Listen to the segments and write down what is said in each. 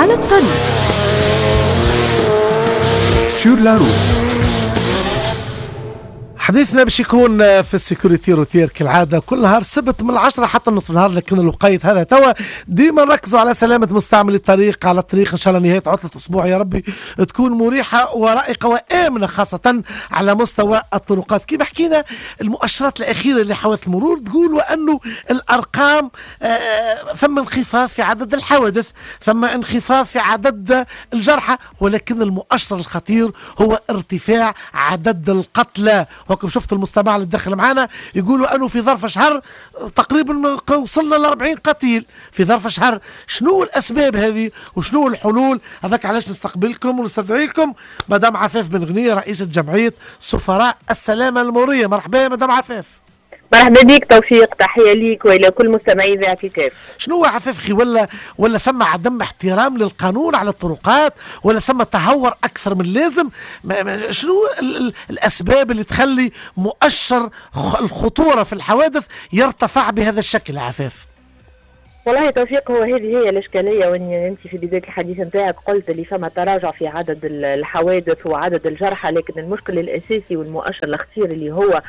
على الطريق. sur la route. حديثنا باش يكون في ال sécurité routière كالعادة كل نهار سبت من 10 حتى نص النهار، لكن الوقيت هذا توا ديما نركزوا على سلامة مستعمل الطريق على الطريق. إن شاء الله نهاية عطلة أسبوع يا ربي تكون مريحة ورائقة وآمنة، خاصة على مستوى الطرقات. كما حكينا المؤشرات الأخيرة لحوادث المرور تقول وأنه الأرقام ثم انخفاض في عدد الحوادث، ثم انخفاض في عدد الجرحى، ولكن المؤشر الخطير هو ارتفاع عدد القتلى. وكم شفت المستمع اللي دخل معنا يقولوا انه في ظرف شهر تقريبا وصلنا ل 40 قتيل في ظرف شهر. شنو الاسباب هذه وشنو الحلول؟ هذاك علاش نستقبلكم ونستدعيكم مدام عفاف بن غنية، رئيسة جمعية سفراء السلامة المرورية. مرحبا يا مدام عفاف. مرحبا بك توفيق، تحية ليك وإلى كل مستمعي إذاعة الكاف. شنو هو عفاف خي، ولا ثم عدم احترام للقانون على الطرقات، ولا ثم تهور أكثر من اللازم؟ شنو الأسباب اللي تخلي مؤشر الخطورة في الحوادث يرتفع بهذا الشكل عفاف؟ والله توفيق، هو هذه هي الإشكالية. وإن أنت في بداية الحديث نتاعك قلت اللي فما تراجع في عدد الحوادث وعدد الجرحى، لكن المشكل الأساسي والمؤشر الخطير اللي هو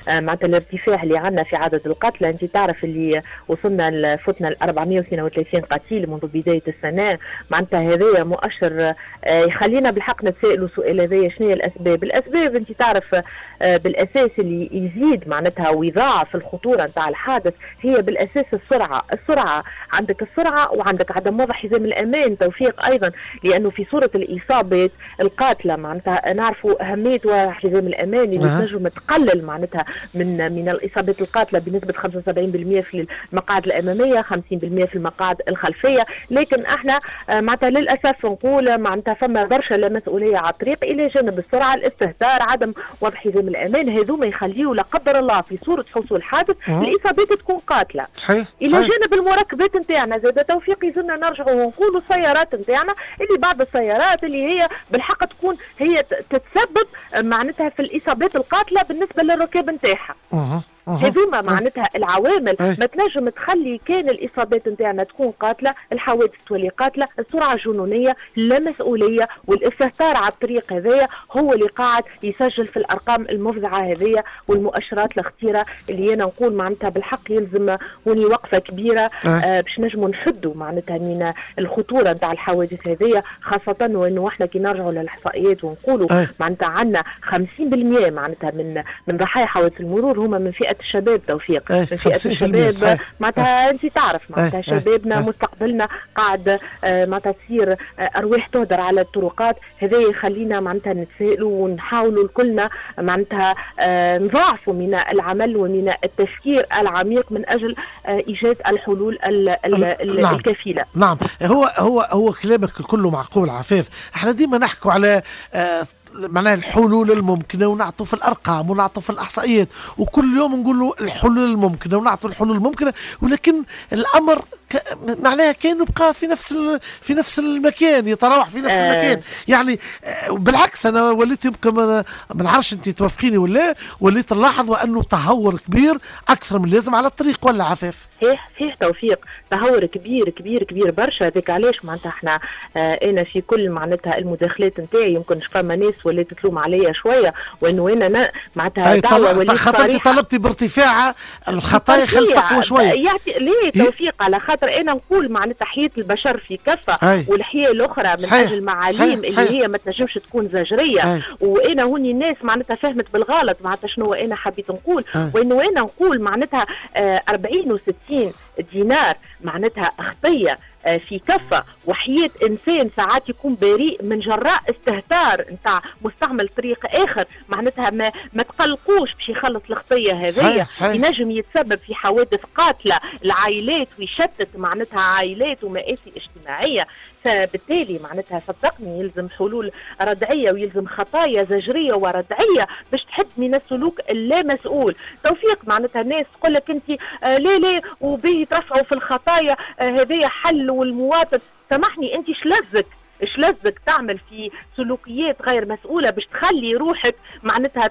معناتها الارتفاع اللي عندنا في عدد القتلى. انت تعرف اللي وصلنا فتنا ل 432 قتيل منذ بداية السنة، معناتها هذايا مؤشر يخلينا بالحق نتسائلوا سؤال هذايا شنو هي الاسباب؟ الاسباب انت تعرف بالاساس اللي يزيد معناتها ويضاعف الخطورة نتاع الحادث هي بالاساس السرعة، السرعة عندك السرعة وعندك عدم وضع حزام الامان توفيق ايضا، لانه في صوره الاصابات القاتلة معناتها نعرفوا اهمية وضع حزام الامان اللي تنجم تقلل معناتها من الاصابات القاتلة بنسبة 75% في المقاعد الامامية، 50% في المقاعد الخلفية. لكن احنا معناتها للاسف نقول معناتها فما برشا لا مسؤولية على الطريق، الى جانب السرعة، الاستهتار، عدم وضع حزام الامان، هذوما يخليوا لا قدر الله في صوره حصول حادث الاصابات تكون قاتله. صحيح. الى جانب المركبات نتاعنا زاد توفيق، يلزمنا نرجعوا ونقولوا السيارات نتاعنا اللي بعض السيارات اللي هي بالحق تكون هي تتسبب معناتها في الاصابات القاتلة بالنسبة للركاب نتاعها. هذوما معناتها العوامل ما تنجم تخلي كان الاصابات نتاعنا تكون قاتله، الحوادث تولي قاتله، السرعة الجنونيه، اللامسؤوليه والاستهتار على الطريق هذايا هو اللي قاعد يسجل في الارقام المفزعه هذيا والمؤشرات الخطيرة اللي انا نقول معناتها بالحق يلزم هوني وقفه كبيرة باش نجموا نحدوا معناتها من الخطورة نتاع الحوادث هذيا، خاصة وانه احنا كي نرجعوا للاحصائيات ونقولوا معناتها عندنا 50% معناتها من ضحايا حوادث المرور هما من فئة الشباب توفيق. من فئة الشباب معناتها انت تعرف معناتها شبابنا مستقبلنا قاعد معناتها تصير ارواح تهدر على الطرقات. هذا يخلينا معناتها نتسائلوا ونحاولوا كلنا معناتها نضاعفوا من العمل ومن التفكير العميق من اجل ايجاد الحلول الكفيله. نعم، هو هو هو كلامك كله معقول عفاف. احنا ديما نحكوا على معناها الحلول الممكنة ونعطوا في الارقام ونعطوا في الاحصائيات، وكل يوم نقولوا الحلول الممكنة ونعطوا الحلول الممكنة، ولكن الامر معناها كانه بقى في نفس المكان، يتراوح في نفس المكان. يعني بالعكس انا وليت يمكن ما نعرفش انت توافقيني ولا، وليت نلاحظ وانه تهور كبير اكثر من اللازم على الطريق، ولا عفاف؟ صحيح صحيح توفيق، تهور كبير كبير كبير برشا. هذاك علاش معناتها احنا انا في كل معناتها المداخلات نتاعي يمكن فما ناس ولات تلوم عليا شوية وانه انا معناتها دعوه وليت خاطر طلبتي بارتفاع الخطايا خلت تقوى شوية. ليه توفيق؟ على خاطر انا نقول معناتها حياة البشر في كفه والحياة الاخرى من اجل المعاليم اللي هي ما تنجمش تكون زجريه. وانا هوني الناس معناتها فهمت بالغلط معناتها شنو انا حبيت نقول، وانه انا نقول معناتها 40 و60 دينار معناتها خطيه في كفه، وحياه انسان ساعات يكون بريء من جراء استهتار نتاع مستعمل طريق اخر، معناتها ما تقلقوش باش يخلص الخطية هذيا، ينجم يتسبب في حوادث قاتله العائلات ويشتت معناتها عائلات ومآسي اجتماعية. فبالتالي معناتها صدقني يلزم حلول ردعيه ويلزم خطايا زجريه وردعيه باش تحد من السلوك اللامسؤول. توفيق معناتها الناس تقول لك انت لا لا وبيه يترفعوا في الخطايا هذايا حل، والمواطن سامحني انت شلزك اش لزك تعمل في سلوكيات غير مسؤولة باش تخلي روحك معناتها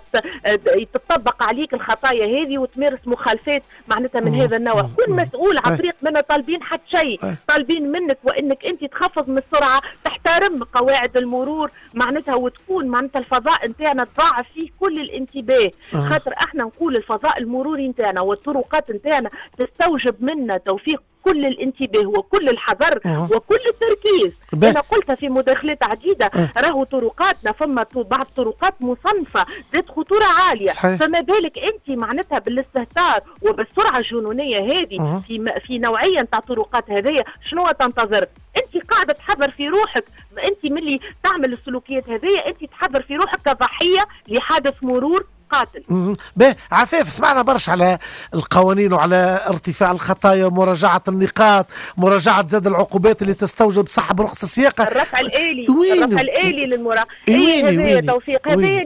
تطبق عليك الخطايا هذه وتمارس مخالفات معناتها من هذا النوع. كن مسؤول على طريق، منا طالبين حتى شيء، طالبين منك وانك انت تخفض من السرعة، تحترم قواعد المرور معناتها، وتكون معناتها الفضاء نتاعنا تضاعف فيه كل الانتباه. خاطر احنا نقول الفضاء المروري نتاعنا والطرقات نتاعنا تستوجب منا توفيق كل الانتباه وكل الحذر وكل التركيز. انا قلتها في مداخلات عديدة، راهو طرقاتنا فما بعض طرقات مصنفه ذات خطورة عالية. صحيح. فما بالك انت معناتها بالاستهتار وبالسرعه الجنونيه هذه في نوعية نتاع طرقات هذيا، شنو تنتظر؟ انت قاعدة تحضر في روحك، انت ملي تعمل السلوكيات هذيا انت تحضر في روحك كضحيه لحادث مرور قاتل. باهي عفاف، سمعنا برشا على القوانين وعلى ارتفاع الخطايا ومراجعة النقاط، مراجعة زاد العقوبات اللي تستوجب سحب رخص السياقة، الرفع الآلي، الرفع الآلي للمراقبة. هذا توفيق، هذا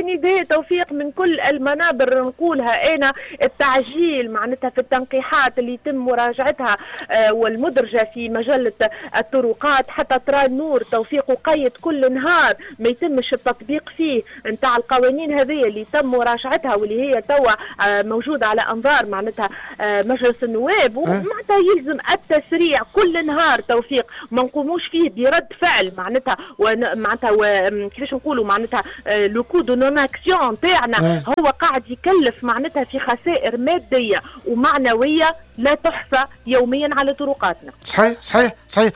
نداء توفيق من كل المنابر نقولها أنا، التعجيل معناتها في التنقيحات اللي يتم مراجعتها والمدرجة في مجلة الطرقات حتى ترى النور توفيق، وقيد كل نهار ما يتمش التطبيق فيه نتاع القوانين هذه اللي تم مراجعتها واللي هي توا موجودة على أنظار معناتها مجلس النواب، ومعناتها يلزم التسريع كل نهار توفيق، ما نقوموش فيه برد فعل معناتها، معناتها كيفاش نقولوا معناتها le coût de non-action تاعنا هو قاعد يكلف معناتها في خسائر مادية ومعنوية لا تحصى يوميا على طرقاتنا. صحيح صحيح صحيح،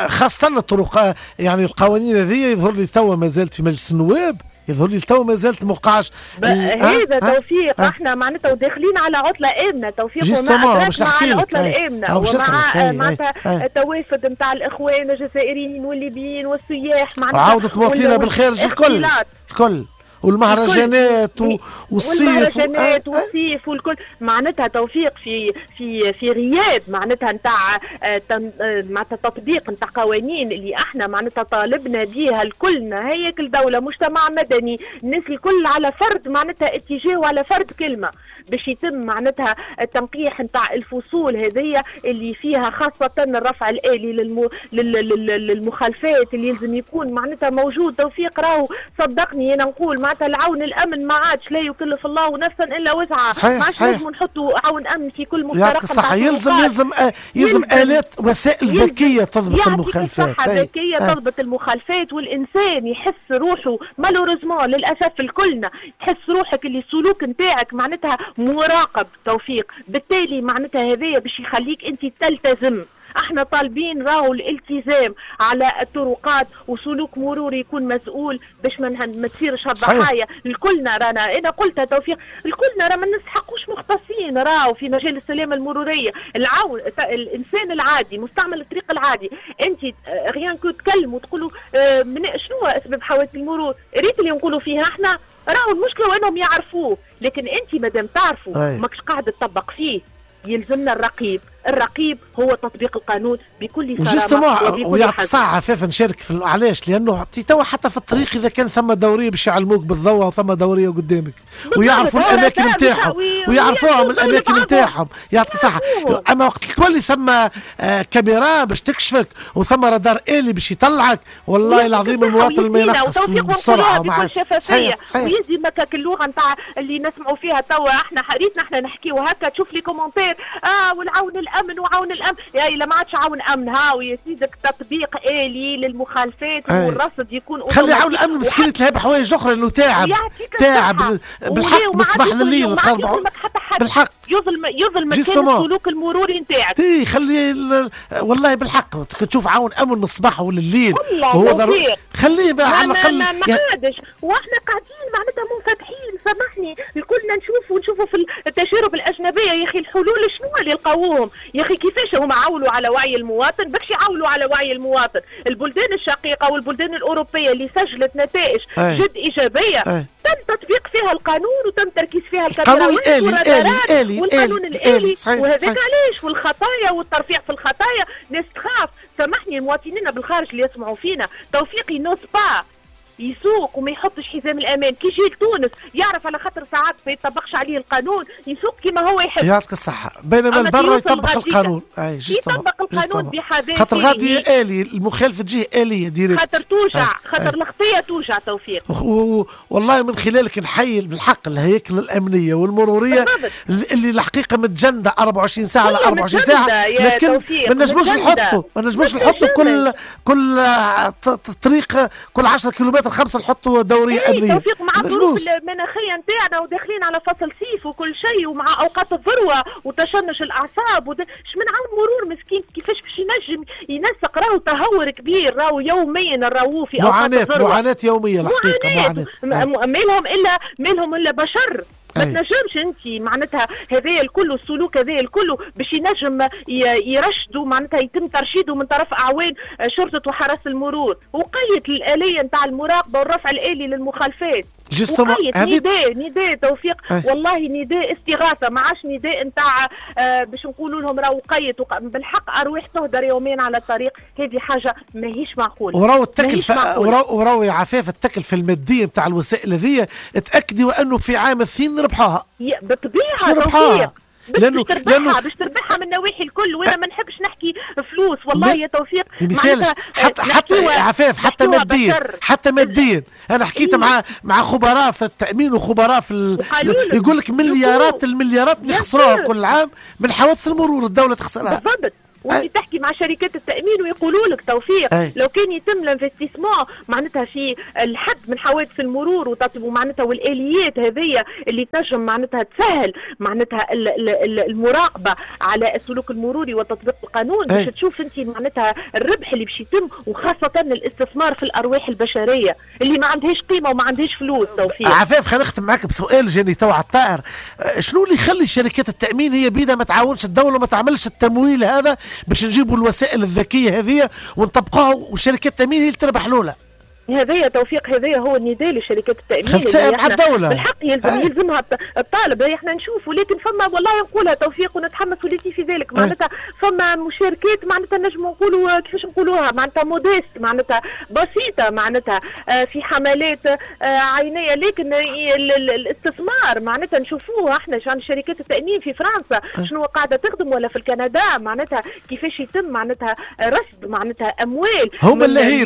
خاصة الطرق، يعني القوانين هذه يظهر لي توا ما زالت في مجلس النواب، يظهر لي تو ما زالت موقعش هذا توفيق. احنا معناتها وداخلين على عطله امنه توفيق، وما ادراك مع العطلة الامنة ومع معناتها التوافد نتاع الاخوان الجزائريين والليبيين والسياح معناتها، عودة مواطنينا بالخارج الكل الكل، والمهرجانات والصيف، والمهرجانات والصيف والكل معناتها توفيق في في في غياب معناتها نتاع معناتها تطبيق نتاع قوانين اللي احنا معناتها طالبنا بها الكلنا، هياكل دولة، مجتمع مدني، الناس الكل على فرد معناتها اتجاه وعلى فرد كلمة باش يتم معناتها التنقيح نتاع الفصول هذيا اللي فيها خاصة الرفع الآلي للمخالفات اللي يلزم يكون معناتها موجود توفيق. راهو صدقني انا نقول معناتها العون الامن ما عادش، لا يكلف الله نفسا الا وسعها، ما عادش لازم نحطوا عون امن في كل مفترق. صح، يلزم يلزم يلزم الات وسائل ذكية تضبط المخالفات، ذكية تضبط المخالفات، والانسان يحس روحه malheureusement للاسف الكلنا تحس روحك اللي السلوك نتاعك معناتها مراقب توفيق، بالتالي معناتها هذايا باش يخليك انت تلتزم. احنا طالبين راهو الالتزام على الطرقات وسلوك مروري يكون مسؤول باش ما تصيرش هالضحايا. الكلنا رانا، انا قلتها توفيق، الكلنا راه ما نستحقوش مختصين راهو في مجال السلامة المرورية، العون الانسان العادي مستعمل الطريق العادي، انت rien que تكلموا وتقولوا شنو اسباب حوادث المرور، ريت اللي نقولوا فيها احنا راهو المشكلة وانهم يعرفوه، لكن انت مادام تعرفوا ماكش قاعد تطبق فيه. يلزمنا الرقيب، الرقيب هو تطبيق القانون بكل صرامه وبكل ويعطيك الصحة عفاف نشارك في علاش؟ لانه توا حتى في الطريق اذا كان ثم دورية باش يعلموك بالضوء وثم دورية قدامك ويعرفوا الاماكن نتاعهم ويعرفوهم الاماكن نتاعهم، يعطيك الصحة. اما وقت تولي ثم كاميرا باش تكشفك وثم رادار آلي باش يطلعك، والله العظيم المواطن ما ينقص بالسرعة بكل شفافية. ويزي مكاك اللغة نتاع اللي نسمعوا فيها توا احنا ريتنا احنا نحكيو هكا، تشوف les commentaires والعون الامن وعون الامن، يا الا ما عادش عون امن، هاو يا سيدك تطبيق آلي للمخالفات والرصد يكون. خلي عون الامن مسكين يتلهى بحوايج اخرى لانه تعب تعب بالحق من الصباح لليل بالحق يظلم كان السلوك المروري نتاعك. تي خلي والله بالحق تشوف عون امن من الصباح ولليل وهو ضروري خليه على الاقل ما عادش، واحنا قاعدين معناتها منفتحين، سامحني الكلنا نشوفوا في التجارب الاجنبية يا اخي الحلول شنو اللي لقاوهم، يا اخي كيفاش هما عولوا على وعي المواطن، باش يعولوا على وعي المواطن. البلدان الشقيقة والبلدان الاوروبية اللي سجلت نتائج جد ايجابية تم تطبيق فيها القانون وتم تركيز فيها القانون الآلي والقانون الآلي، وهذاك علاش والخطايا والترفيع في الخطايا ناس تخاف. سامحني المواطنين بالخارج اللي يسمعوا فينا توفيقي n'osent pas يسوق وما يحطش حزام الامان، كي يجي لتونس يعرف على خاطر ساعات ما يطبقش عليه القانون، يسوق كما هو يحب. يعطيك الصحة، بينما البرة يطبق القانون. اي يطبق القانون بحذافيره، خاطر غادي آلي، المخالفة تجيه آلية direct، خاطر توجع، خاطر الخطية توجع توفيق. والله من خلالك نحيي بالحق الهياكل الأمنية والمرورية اللي الحقيقة متجندة 24 ساعة على 24 ساعة، لكن ما نجموش نحطوا، ما نجموش نحطوا كل طريق كل 10 كيلومتر 5 نحطوا دورية أمنية. توفيق مع الظروف المناخية نتاعنا وداخلين على فصل صيف وكل شيء، ومع أوقات الذروة وتشنج الأعصاب ش من عون مرور مسكين كيفاش باش ينجم ينسق؟ راهو تهور كبير، راهو يوميا نراوه في أوقات الذروة، معاناة يومية الحقيقة، معاناة. مالهم إلا بشر، ما تنجمش انت معناتها هذايا الكل السلوك هذايا الكل باش ينجم يرشدوا، معناتها يتم ترشيده من طرف اعوان شرطه وحرس المرور. وقيت الالية نتاع المراقبة والرفع الالي للمخالفات، وقيت نداء توفيق. والله نداء استغاثة، ما عادش نداء نتاع باش نقولوا لهم راهو قيت، بالحق ارواح تهدر يومين على الطريق، هذه حاجة ماهيش معقولة. وراو التكلفة، وراو يا عفاف التكلفة المادية نتاع الوسائل هذه، تاكدي وانه في عام الثين ربحوها بالطبيعة توفيق، لانه باش تربحها من النواحي الكل، وانا ما نحبش نحكي فلوس والله يا توفيق، حتى عفاف حتى ماديا، حتى ماديا انا حكيت مع خبراء في التامين وخبراء في يقول لك مليارات المليارات نخسروها كل عام من حوادث المرور، الدولة تخسرها. بالضبط، وانت تحكي مع شركات التامين ويقولوا لك توفيق لو كان يتم ال investissement معناتها في الحد من حوادث المرور ومعناتها والاليات هذيا اللي تنجم معناتها تسهل معناتها المراقبة على السلوك المروري وتطبيق القانون، باش تشوف انت معناتها الربح اللي باش يتم، وخاصة الاستثمار في الارواح البشرية اللي ما عندهاش قيمة وما عندهاش فلوس. توفيق عفاف خلينا نختم معاك بسؤال جاني تو على الطائر، شنو اللي يخلي شركات التامين هي بيدها ما تعاونش الدولة وما تعملش التمويل هذا باش نجيبوا الوسائل الذكية هذه ونطبقوها، وشركات التامين هي اللي تربح الاولى؟ هذايا توفيق، هذايا هو النداء لشركات التامين مع الدولة بالحق يلزمها الطالب، احنا نشوف، ولكن فما والله نقولها توفيق ونتحمس وليتي في ذلك، معناتها فما مشاركات معناتها نجم نقولوا كيفاش نقولوها معناتها modeste، معناتها بسيطة، معناتها في حملات عينيه، لكن الاستثمار معناتها نشوفوه احنا شركات التامين في فرنسا شنو قاعدة تخدم، ولا في الكندا معناتها كيفاش يتم معناتها رصد معناتها اموال. هم اللاهين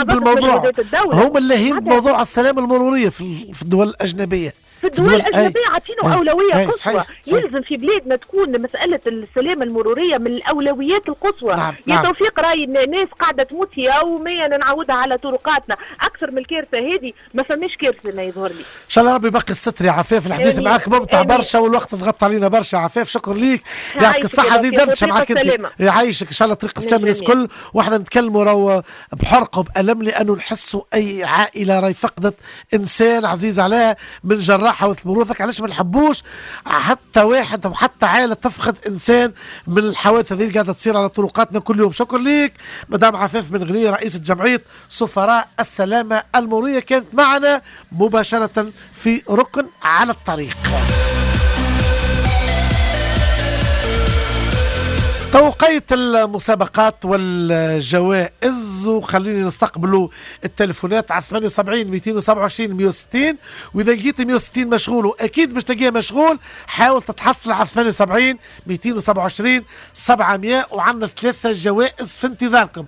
بالموضوع، هم اللاهين بموضوع السلامة المرورية في الدول الأجنبية. في الدول الأجنبية عاطينه أولوية قصوى. يلزم في بلادنا تكون مسألة السلامة المرورية من الأولويات القصوى. نعم. يا توفيق راي الناس قاعدة تموت يوميا، نعودها على طرقاتنا أكثر من الكارثة هذه، ما فماش كارثة ما يظهر لي. إن شاء الله ربي يبقي الستر يا عفاف، الحديث معاك ممتع برشا والوقت ضغط علينا برشا. عفاف شكرا ليك، يعطيك الصحة، هذه دردشة معاك أنت، يعيشك إن شاء الله طريق السلام الناس الكل، واحنا نتكلموا راهو بحرقة وبألم لأنه نحسوا أي عائلة راهي فقدت إنسان عزيز عليها من جراء حوادث مرور. علاش ما نحبوش حتى واحد او حتى عائلة تفقد انسان من الحوادث هذه اللي قاعدة تصير على طرقاتنا كل يوم. شكرا ليك مدام عفاف بن غنية، رئيسه جمعية سفراء السلامة المرورية، كانت معنا مباشرة في ركن على الطريق. توقيت المسابقات والجوائز، وخليني نستقبلوا التليفونات على 78 227 160، واذا لقيت 160 مشغول واكيد باش تلاقيه مشغول، حاول تتحصل على 78 227 700، وعندنا 3 جوائز في انتظاركم.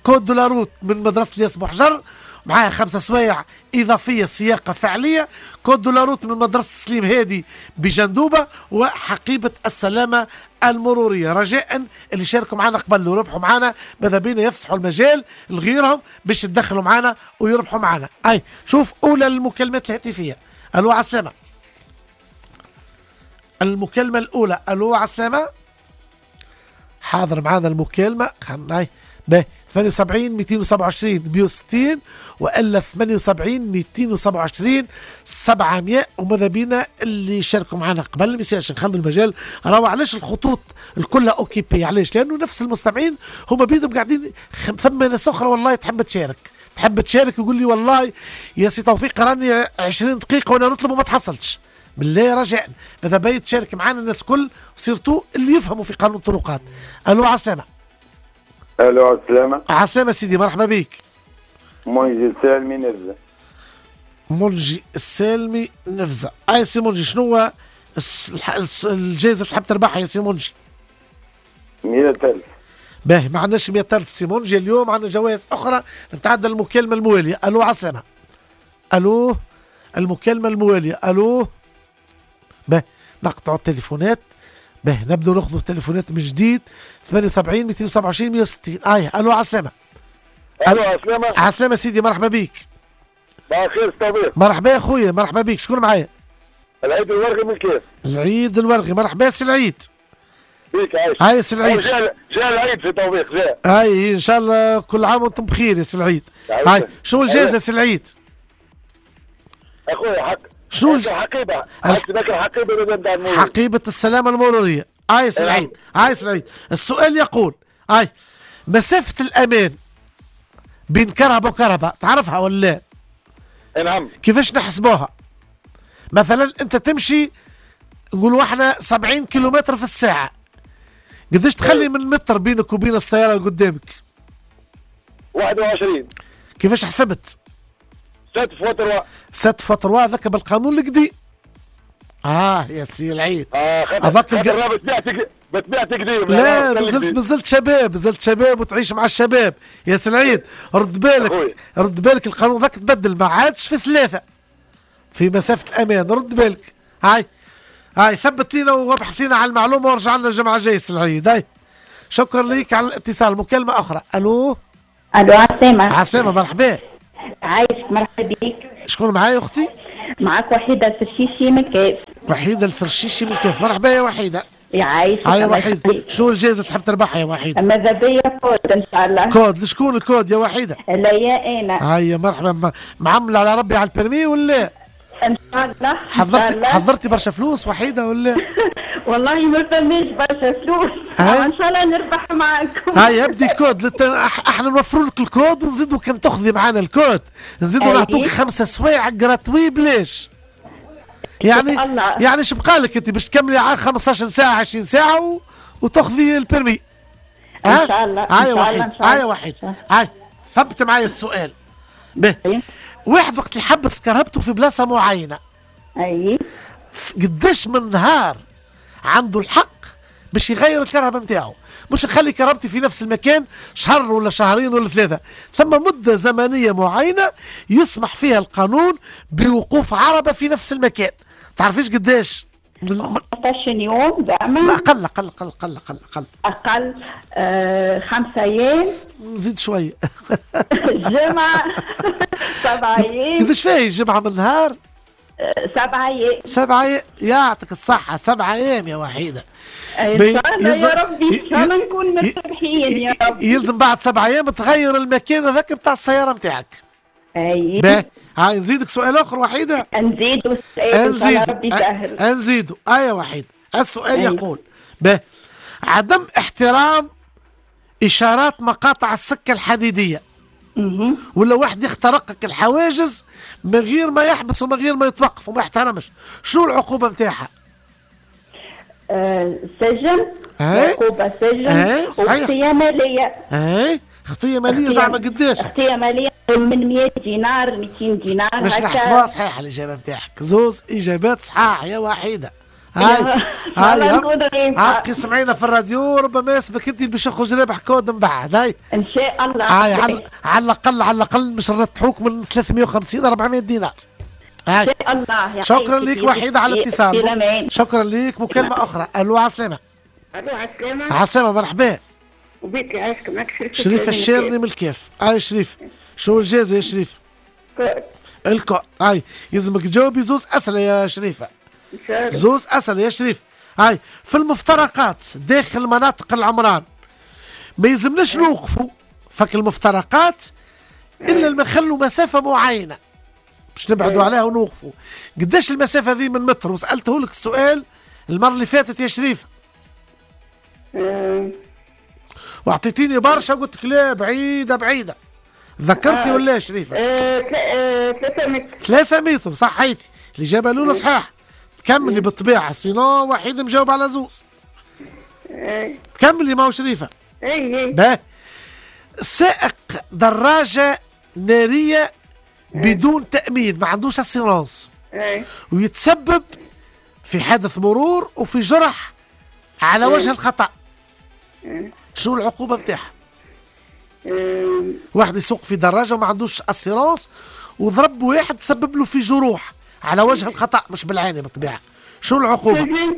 code de la route من مدرسة الياس بوحجر معاها 5 سوايع إضافية سياقة فعلية، code de la route من مدرسة سليم هادي بجندوبة، وحقيبة السلامة المرورية. رجاء اللي شاركوا معنا قبل وربحوا معنا ماذا بينا يفسحوا المجال لغيرهم باش يتدخلوا معنا ويربحوا معنا. أي شوف أولى المكالمات الهاتفية. ألو عسلامة. المكالمة الأولى، ألو عسلامة. حاضر معنا المكالمة، خلينا 78 227 160 والا 78 227 700. وماذا بينا اللي شاركوا معنا قبل ما يصيرش نخلوا المجال. راهو علاش الخطوط الكلها occupée؟ علاش؟ لانه نفس المستمعين هما بيدهم قاعدين، ثم ناس اخرى والله تحب تشارك، تحب تشارك، يقول لي والله يا سي توفيق راني 20 دقيقة وانا نطلب وما تحصلتش. بالله رجاء ماذا بيا تشارك معنا الناس الكل، surtout اللي يفهموا في قانون الطرقات. الو عسلامة. الو عسلامة. عسلامة سيدي، مرحبا بك. منجي السالمي نفزة. منجي السالمي نفزة. اي سي منجي، شنو هو الجائزة اللي تحب تربحها يا سي منجي؟ 100,000. باهي، ما عندناش 100,000 سي منجي اليوم، عندنا جوائز أخرى. نتعدى المكالمة الموالية. ألو عسلامة. ألو، المكالمة الموالية. ألو. باهي، نقطعوا التليفونات. باهي، نبدو ناخذ التليفونات من جديد. 78 227 160. اي الو عسلامة. الو عسلامة. عسلامة سيدي، مرحبا بيك. بخير صديق. مرحبا يا خويا، مرحبا بيك. شكون معايا؟ العيد الورغي من الكاف. العيد الورغي، مرحبا سي العيد. بيك عايش. هاي سي العيد. جاء العيد في توفيق جاء. هاي ان شاء الله كل عام وانتم بخير يا سي العيد. هاي شنو الجائزة سي العيد؟ اخويا حق شنو الحقيبة؟ حقيبة حقيبة السلامة المرورية. هاي سي العيد، هاي سي العيد. السؤال يقول هاي مسافة الأمان بين كهرباء وكهرباء تعرفها ولا لا؟ نعم. كيفاش نحسبوها؟ مثلا أنت تمشي نقولوا احنا 70 كيلومتر في الساعة، قداش تخلي من متر بينك وبين السيارة اللي قدامك؟ 21. كيفاش حسبت؟ 7 fois 3. 7 fois 3 هذاك بالقانون القديم. يا سي العيد. هذاك بتبيع قديم. لا مازلت شباب، مازلت شباب وتعيش مع الشباب يا سي العيد. رد بالك، رد بالك، القانون ذاك تبدل، ما عادش في 3 في مسافة الأمان، رد بالك. هاي هاي ثبت لينا وابحث لنا على المعلومة ورجع لنا الجمعة الجاية سي العيد. هاي شكرا لك على الاتصال. مكالمة أخرى. ألو. ألو عسلامة. عسلامة، مرحبا. عايشك، مرحبا بك. شكون معايا أختي؟ معاك وحيدة الفرشيشي من الكاف. وحيدة الفرشيشي من الكاف، مرحبا يا وحيدة. يعيشك. هاي وحيدة، شنو الجائزة تحب تربحها يا وحيدة؟ ماذا بيا كود إن شاء الله. كود، لشكون الكود يا وحيدة؟ لا يا أنا. هيا مرحبا. معملة على ربي على ال permis ولا؟ إن شاء الله. حضرتي برشا فلوس وحيدة ولا؟ والله ما فماش برشا فلوس، ان شاء الله نربح معاكم. هاي ابدي كود، احنا نوفروا لك الكود ونزيدوا كان تاخذي معانا الكود نزيدوا نعطوك 5 سوايع gratuit بلاش. يعني الله. يعني اش بقى لك انت باش تكملي على 15 ساعة 20 ساعة وتاخذي ال permis. ان شاء الله. هاي وحيد، هاي وحيد، هاي ثبت معايا السؤال. به واحد وقت يحبس كرهبته في بلاصة معينة، اي قداش من نهار عنده الحق باش يغير الكرهبة نتاعو؟ مش نخلي كرهبتي في نفس المكان شهر ولا شهرين ولا 3، ثم مدة زمنية معينة يسمح فيها القانون بوقوف عربة في نفس المكان. تعرفيش قداش؟ 15 يوم زعما؟ لا أقل أقل أقل أقل أقل أقل أقل. 5 أيام. نزيد شوية. جمعة. 7 أيام. قداش فيها الجمعة من النهار؟ 7 أيام. 7 أيام، يعطيك الصحة، 7 أيام يا وحيدة. إن شاء الله يا ربي، إن شاء الله نكون مرتاحين يا ربي. يلزم بعد 7 أيام تغير المكان هذاك نتاع السيارة نتاعك. أي. باهي، هاي نزيدك سؤال آخر وحيدة. نزيدو سؤال، إن شاء الله ربي يسهل. نزيدو، أي وحيدة. السؤال يقول: باهي، عدم احترام إشارات مقاطع السكة الحديدية، ولا واحد يخترقك الحواجز من غير ما يحبس ومن غير ما يتوقف وما يحترمش، شنو العقوبة نتاعها؟ سجن. عقوبة سجن. وخطية مالية. اي خطية مالية زعما قداش؟ خطية مالية من 100 دينار 200 دينار. مش نحسبوها صحيحة الإجابة نتاعك، زوز إجابات صحاح يا وحيدة. هاي هاي هاي سمعينا في الراديو، ربما يسبك انت باش يخرج رابح كود من بعد. هاي ان شاء الله. هاي على الاقل، على الاقل مش نرتحوك من 350 400 دينار. هاي ان شاء الله. شكرا لك وحيدة على الاتصال. شكرا لك. مكالمة أخرى. ألو عسلامة. ألو عسلامة. عسلامة، مرحبا. وبيك يعيشك، معك شريفة. شريفة الشيرني من الكاف. هاي شريف، شنو الجائزة يا شريفة؟ كود. الكود. هاي يلزمك تجاوبي زوز أسئلة يا شريفة. زوز أسئلة يا شريف. هاي في المفترقات داخل مناطق العمران ما يلزمناش نوقفوا فك المفترقات إلا لما نخلوا مسافة معينة باش نبعدوا عليها ونوقفوا. قداش المسافة ذي من متر؟ وسألته لك السؤال المرة اللي فاتت يا شريف. واعطيتيني برشا وقلت لك لا بعيدة بعيدة. ذكرتي ولا يا شريفة؟ 3 متر. 3 متر، صحيتي. الإجابة الأولى صحيح. تكملي بالطبيعة، sinon وحيد مجاوب على زوز. تكملي ما هو شريفة. اي. باهي. سائق دراجة نارية بدون تأمين، ما عندوش assurance، ويتسبب في حادث مرور وفي جرح على وجه الخطأ، شنو العقوبة نتاعها؟ واحد يسوق في دراجة وما عندوش assurance وضرب واحد تسبب له في جروح على وجه الخطأ، مش بالعاني بالطبيعة، شنو العقوبة؟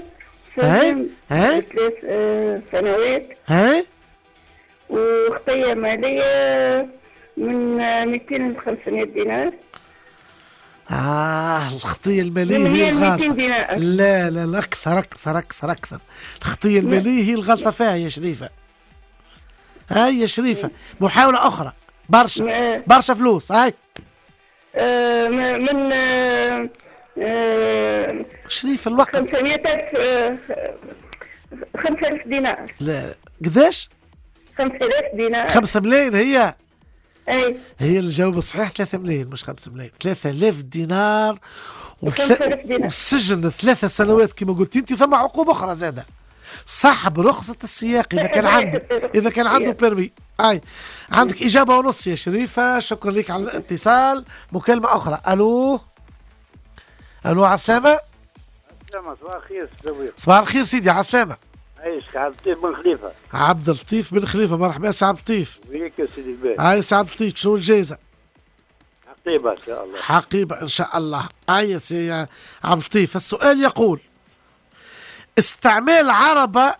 سجن 3 سنوات، هاي، وخطية مالية من 200 ل 500 دينار. الخطية المالية هي الغلطة. لا لا لا، أكثر أكثر أكثر أكثر. الخطية المالية هي الغلطة فيها يا شريفة. هاي يا شريفة، محاولة أخرى. برشا برشا فلوس. هاي من شريفة الوقت 500,000، 5,000 دينار. لا، قداش؟ 5,000 دينار. 5 ملايين هي. أي. هي الجواب الصحيح 3 ملايين مش 5 ملايين، 3000 دينار والسجن 3 سنوات كما قلت انت. ثم عقوبة أخرى زادة، سحب رخصة السياق إذا كان عنده، إذا كان عنده permis. أي عندك إجابة ونص يا شريفة، شكرا لك على الاتصال. مكالمة أخرى. ألو ألو، عسلامة. عسلامة، صباح الخير سيدي. صباح الخير سيدي، عسلامة. عايشك، عبد اللطيف بن خليفة. عبد اللطيف بن خليفة، مرحبا سي عبد اللطيف. وياك يا سيدي الباهي. هاي سي عبد اللطيف، شنو الجائزة؟ حقيبة إن شاء الله. حقيبة إن شاء الله. هاي سي عبد اللطيف، السؤال يقول: استعمال عربة،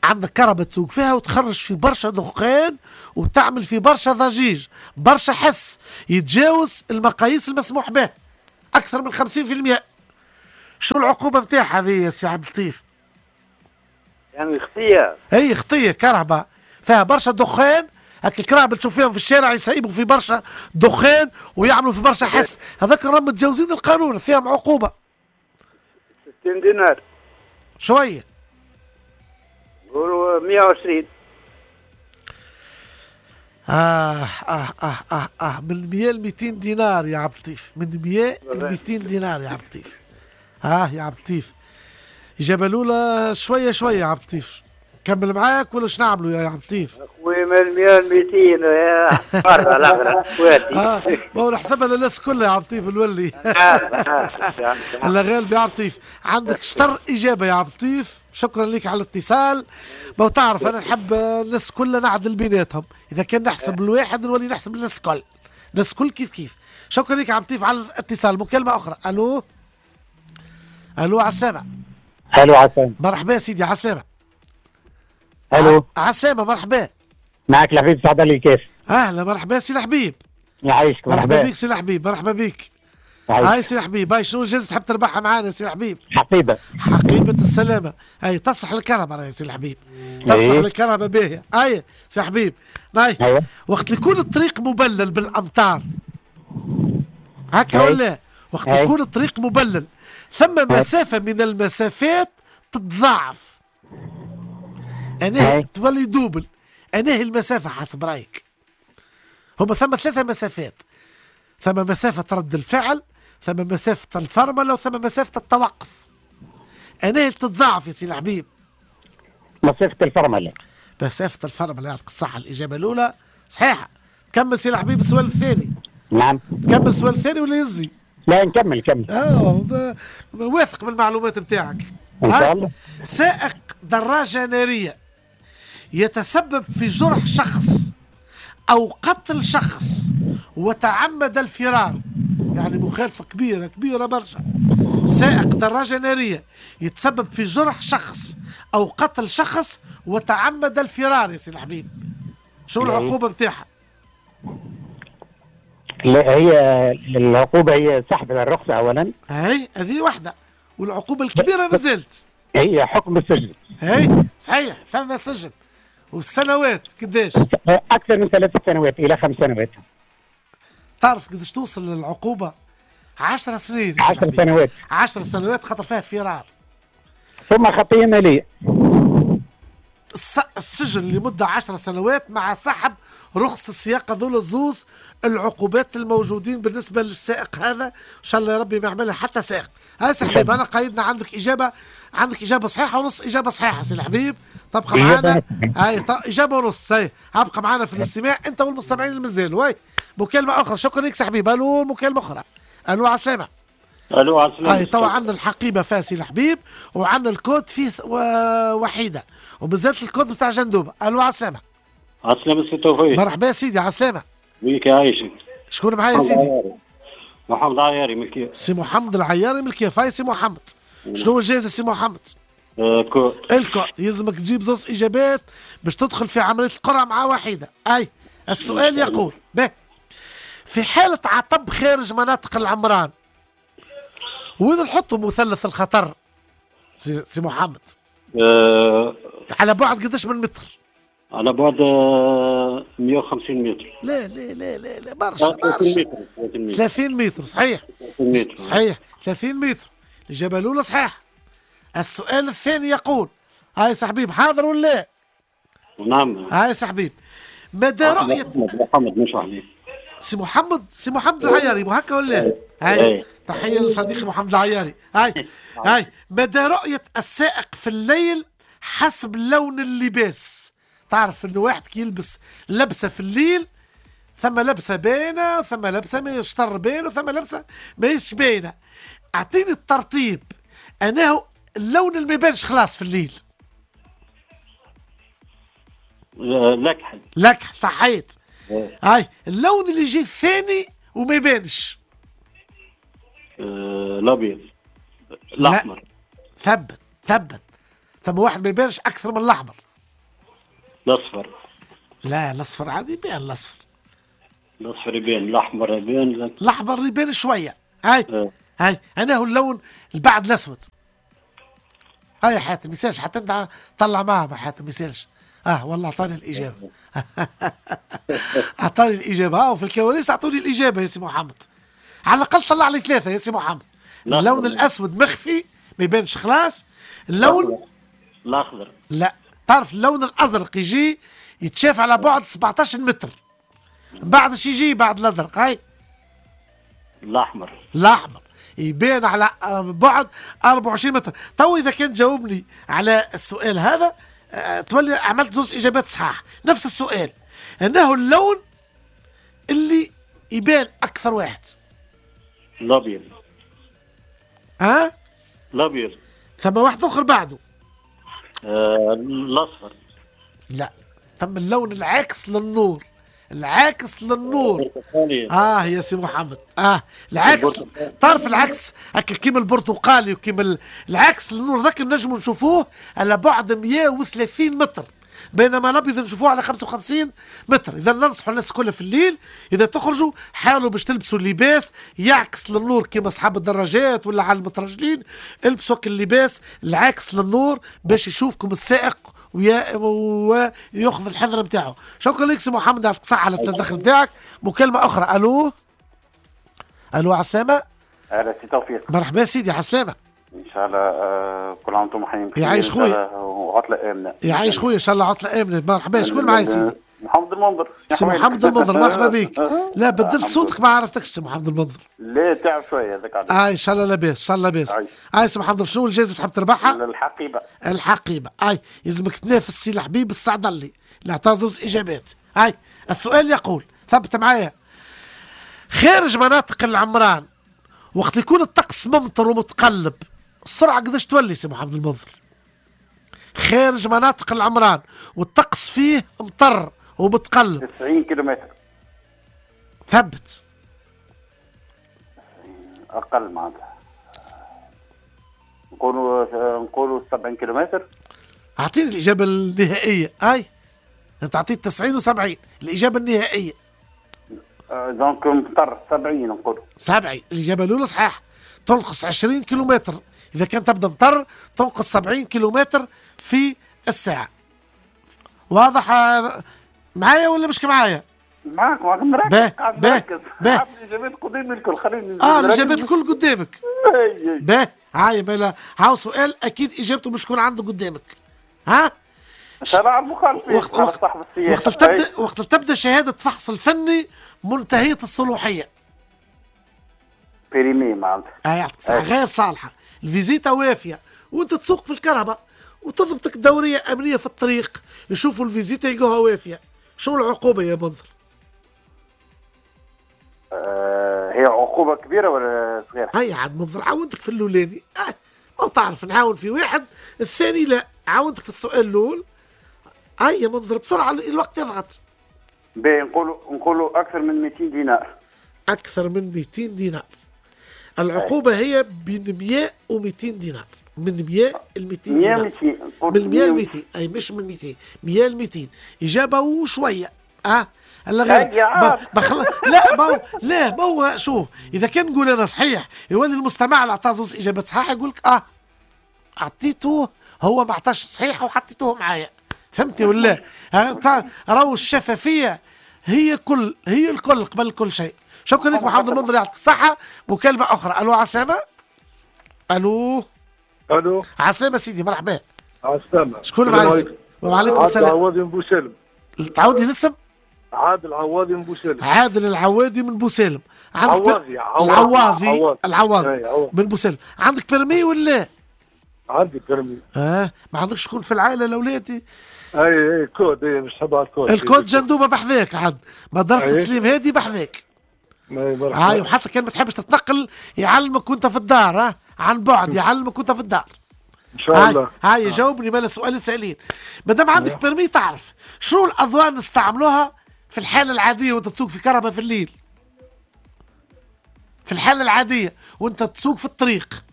عندك كربة تسوق فيها وتخرج في برشا دخان وتعمل في برشا ضجيج، برشا حس يتجاوز المقاييس المسموح به أكثر من 50%، شو العقوبة نتاعها هذه يا سي عبد اللطيف؟ يعني خطية. هي خطية، كرهبة فيها برشا دخان، هاك الكراهب اللي تشوف فيهم في الشارع يسيبوا في برشا دخان ويعملوا في برشا حس، هذاك راهم متجاوزين القانون، فيهم عقوبة. 60 دينار. شوية. نقولوا 120. آه آه آه آه آه من 100 ل 200 دينار يا عبد اللطيف، من 100 ل 200 دينار يا عبد اللطيف. يا عبد اللطيف، إجابة الأولى شوية شوية يا عبد اللطيف، كمل معاك ولا شنو نعملوا يا عبد اللطيف؟ خويا من 100 ل 200 يا مرة الأخرى. ما هو نحسبها للناس كلها يا عبد اللطيف نولي. الله غالب يا عبد اللطيف، عندك شطر إجابة يا عبد اللطيف، شكرا لك على الاتصال. ما هو تعرف أنا نحب الناس كلها نعدل بيناتهم، إذا كان نحسب الواحد نولي نحسب الناس الكل، الناس الكل كيف كيف. شكرا لك يا عبد اللطيف على الاتصال. مكالمة أخرى. ألو ألو، عسلامة. الو، عسلامة. مرحبا سيدي، عسلامة. الو، عسلامة، مرحبا. معك الحبيب سعد علي الكاف. اهلا، مرحبا سي الحبيب. يعيشك، مرحبا بك سي الحبيب، مرحبا بك. هاي سي الحبيب، هاي شنو الجائزة تحب تربحها معانا سي الحبيب؟ حقيبة. حقيبة السلامة، هاي تصلح للكهرباء يا سي الحبيب، تصلح للكهرباء باهية. هاي سي الحبيب، هاي أيوة. وقت يكون الطريق مبلل بالأمطار هكا ولا؟ وقت يكون الطريق مبلل ثم مسافة من المسافات تتضاعف، أنا تولي double. أنا هي المسافة حسب رأيك؟ هما ثم 3 مسافات، ثم مسافة رد الفعل، ثم مسافة الفرملة، وثم مسافة التوقف. أنا هي تتضاعف يا سي الحبيب؟ مسافة الفرملة. مسافة الفرملة، يعطيك الصحة، الإجابة الأولى صحيحة. كمل سي الحبيب السؤال الثاني. نعم. تكمل السؤال الثاني ولا يزي؟ لا نكمل كمل. واثق من المعلومات نتاعك. ان شاء الله. سائق دراجة نارية يتسبب في جرح شخص أو قتل شخص وتعمد الفرار، يعني مخالفة كبيرة كبيرة برشا. سائق دراجة نارية يتسبب في جرح شخص أو قتل شخص وتعمد الفرار يا سي الحبيب، شو العقوبة نتاعها؟ لا، هي العقوبة هي سحب الرخصة أولا. هاي هذه واحدة، والعقوبة الكبيرة ما زالت هي حكم السجن. هاي صحيح، فما سجن. والسنوات قداش؟ أكثر من 3 سنوات إلى 5 سنوات. تعرف قداش توصل للعقوبة؟ 10 سنين. 10 سنوات. 10 سنوات خاطر فيها فرار. ثم خطية مالية. السجن لمدة 10 سنوات مع سحب رخص السياقة، ذول الزوز العقوبات الموجودين بالنسبة للسائق هذا. إن شاء الله يا ربي ما يعملها حتى سائق. هاي سي حبيب، أنا قايدنا عندك إجابة، عندك إجابة صحيحة ونص إجابة صحيحة سي الحبيب. تبقى معنا هاي إجابة ونص، هاي ابقى معنا في الاستماع أنت والمستمعين اللي مازالوا. هاي مكالمة اخرى، شكرا لك حبيب. الو، مكالمة اخرى. الو، عسلامة. الو، عسلامة. هاي توا عندنا الحقيبة فاسي الحبيب، وعندنا الكود فيه وحيده، ومازالت الكود بتاع جندوبه. الو، عسلامة. عسلامة سي توفيق. مرحبا سيدي، عسلامة. بيك يعيشك. شكون معايا سيدي؟ محمد العياري من الكيف. سي محمد العياري من الكيف. هاي سي محمد، شنو الجائزة سي محمد؟ code. ال code، يلزمك تجيب زوز اجابات باش تدخل في عملية القرعة مع وحيده. اي السؤال يقول به: في حاله عطب خارج مناطق العمران وين نحطوا مثلث الخطر سي محمد؟ على بعد قداش من متر؟ على بعد 150 متر. لا لا لا لا لا، برشا برشا. 30 متر، صحيح. 30 متر، صحيح، 30 متر. الإجابة الأولى صحيح. السؤال الثاني يقول، هاي صاحبي حاضر ولا؟ نعم. هاي صاحبي، مدى رؤية محمد مش حبيب. سي محمد، سي محمد العياري مو هكا ولا؟ هاي تحية لصديقي محمد العياري. هاي هاي، مدى رؤية السائق في الليل حسب لون اللباس. تعرف انه واحد كي يلبس لبسة في الليل، ثم لبسة باينة، ثم لبسة ما يشطر باينة، ثم لبسة ماهيش باينة. اعطيني الترتيب، انه اللون اللي ما يبانش خلاص في الليل. الاكحل. الاكحل، صحيت. هاي اللون اللي يجي الثاني وما يبانش. الابيض. الاحمر. ثبت ثبت، ثم واحد ما يبانش اكثر من الاحمر. الاصفر. لا، الاصفر عادي يبان الاصفر. الاصفر يبان، الاحمر يبان. الاحمر يبان شوية. هاي هاي، انا هو اللون اللي بعد الاسود. هاي يا حاتم، ما حتى انت طلع معها حاتم، ما يسالش. والله اعطاني الاجابة. اعطاني الاجابة، وفي الكواليس اعطوني الاجابة يا سي محمد. على الاقل طلع لي ثلاثة يا سي محمد. اللون الاسود مخفي ما يبانش خلاص. اللون الاخضر. لا، تعرف اللون الازرق يجي يتشاف على بعد 17 متر. بعد شي يجي بعد الازرق؟ هاي الاحمر. الاحمر يبان على بعد 24 متر. تو اذا كان جاوبني على السؤال هذا تولي عملت زوج اجابات صحاح. نفس السؤال، انه اللون اللي يبان اكثر واحد. الابيض. ها؟ الابيض. ثم واحد اخر بعده. الاصفر. لا، ثم اللون العاكس للنور. العاكس للنور. يا سي محمد، العكس، طرف العكس هكا كيما البرتقالي وكيما العكس للنور ذاك نجموا نشوفوه على بعد 130 متر، بينما الابيض نشوفوه على 55 متر. اذا ننصحوا الناس كلها في الليل اذا تخرجوا حاولوا باش تلبسوا اللباس يعكس للنور كيما اصحاب الدراجات ولا على المترجلين، البسوا اللباس العاكس للنور باش يشوفكم السائق وياخذ الحذر نتاعو. شكرا لك سي محمد على الصحة على التدخل نتاعك. مكالمة أخرى. ألو ألو، عسلامة. أهلا سي توفيق. مرحبا سيدي، عسلامة. إن شاء الله كل عام وأنتم حيين بخير. يعيش خويا وعطلة آمنة. يعيش خويا، إن شاء الله عطلة آمنة. مرحبا، شكون معايا سيدي؟ محمد المنظر. سي محمد المنظر، مرحبا بك. لا بدلت صوتك ما عرفتكش سي محمد المنظر. لا تعب شوية هذاك علاش. ان شاء الله لاباس، ان شاء الله لاباس. اي سي محمد، شنو الجائزة تحب تربحها؟ الحقيبة. الحقيبة، اي يلزمك تنافس سي الحبيب السعدلي اللي عطاه زوز اجابات. اي السؤال يقول، ثبت معايا: خارج مناطق العمران وقت يكون الطقس ممطر ومتقلب السرعة قداش تولي سي محمد المنظر؟ خارج مناطق العمران والطقس فيه مطر ومتقلب. 90 كيلومتر. ثبت. اقل معناتها. نقولوا 70 كيلومتر. اعطيني الاجابة النهائية. اي انت اعطيت 90 و70، الاجابة النهائية. donc مطر 70 نقولوا. 70، الاجابة الاولى صحيح. تنقص 20 كيلومتر اذا كان تبدا مطر، تنقص 70 كيلومتر في الساعة. واضح معايا ولا مش معايا؟ معاك معاك، مركز. مركز. الاجابات قدامي الكل، خليني الاجابات الكل قدامك. باه هاي بلا هاو سؤال اكيد اجابته مش تكون عنده قدامك. ها؟ تبع المخالفين. وقت تبدا شهادة فحص الفني منتهية الصلاحية. périmée معناتها. يعطيك الصحة، غير صالحه، الفيزيتا وافيه وانت تسوق في الكرهبه وتضبطك دورية امنية في الطريق، يشوفوا الفيزيتا يلقوها وافيه، شو العقوبة يا منظر؟ عقوبه كبيرة ولا صغيرة؟ هيا عاد منظر عاونتك في الاولاني، ما تعرف نعاون في واحد، الثاني لا، عاونتك في السؤال الاول. هيا منظر بسرعة الوقت يضغط. باهي نقولوا اكثر من 200 دينار. اكثر من 200 دينار. العقوبة هي بين 100 و 200 دينار، من 100 ل 200 دينار. 100 من 100 ل 200، اي مش من 200، 100 ل 200 اجابه وشوية. هلا غير لا ما لا ما هو شوف، اذا كان نقول انا صحيح يولي المستمع اللي عطاه زوز اجابات صحيحه يقول لك اعطيته هو ما عطاش صحيح وحطيته معايا، فهمتي ولا؟ راهو الشفافية هي هي الكل قبل كل شيء. شكرا لك محمد المنظر، يعطيك الصحة. مكالمة اخرى. الو عسلامة. الو الو عسلامة سيدي، مرحبا. عسلامة. شكون معايا؟ وعليكم السلام. عادل العواضي من بوسالم. تعاودي الاسم؟ عادل العواضي من بوسالم. عادل العوادي من بوسالم. عواضي العواضي العواضي من بوسالم. عندك permis ولا؟ عندي permis. ما عندكش شكون في العائلة الاولاد؟ اي كود، اي مش تبع ال code. ال code جندوبه بحذاك عاد، مدرسه سليم هادي بحذاك. هاي، وحتى كان ما تحبش تتنقل يعلمك وانت في الدار، عن بعد يعلمك وانت في الدار. ان شاء الله. هاي جاوبني مال السؤال سائلين. ما دام عندك permis تعرف شنو الاضواء نستعملوها في الحالة العادية وانت تسوق في كهرباء في الليل؟ في الحالة العادية وانت تسوق في الطريق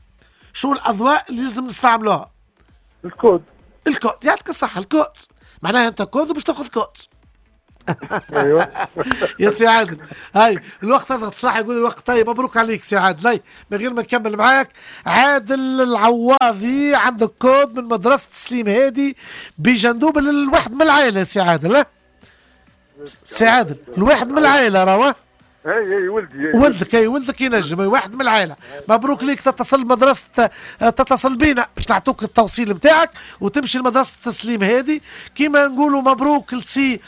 شو الاضواء اللي لازم نستعملوها؟ ال code. ال code، يعطيك الصحة. الكود معناها انت كود باش تاخذ كود. ايوه يا سي عادل، هاي الوقت اضغط صح يقول الوقت. طيب مبروك عليك سي عادل. هاي من غير ما نكمل معاك، عادل العواضي عندك كود من مدرسة سليم هادي بجندوب الواحد من العائلة. سي عادل، سي عادل الواحد من العائلة راهو. اي ولدي، ولدك، اي ولدك ينجم، اي واحد من العائلة. مبروك ليك. تتصل مدرسه، تتصل بينا باش نعطوك التوصيل نتاعك وتمشي لمدرسة التسليم هذه. كيما نقولوا مبروك لسي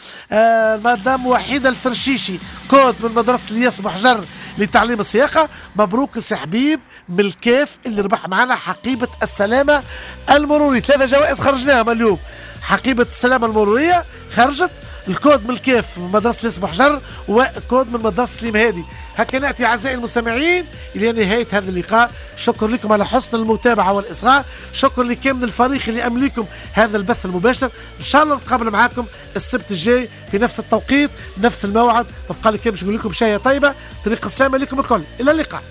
مدام وحيده الفرشيشي، كود من مدرسه الياس بحجر لتعليم السياقه. مبروك لسي حبيب من الكاف اللي ربح معنا حقيبة السلامة المروري. 3 جوائز خرجناهم اليوم. حقيبة السلامة المرورية خرجت، الكود من الكاف من مدرسة الياس بحجر، وكود من مدرسة سليم هادي. هكا نأتي أعزائي المستمعين إلى نهاية هذا اللقاء. شكر لكم على حسن المتابعة والإصغاء، شكر لكامل الفريق اللي أمليكم هذا البث المباشر. إن شاء الله نتقابل معاكم السبت الجاي في نفس التوقيت نفس الموعد. بقى لي كان باش نقول لكم شاية طيبة، طريق السلامة لكم الكل، إلى اللقاء.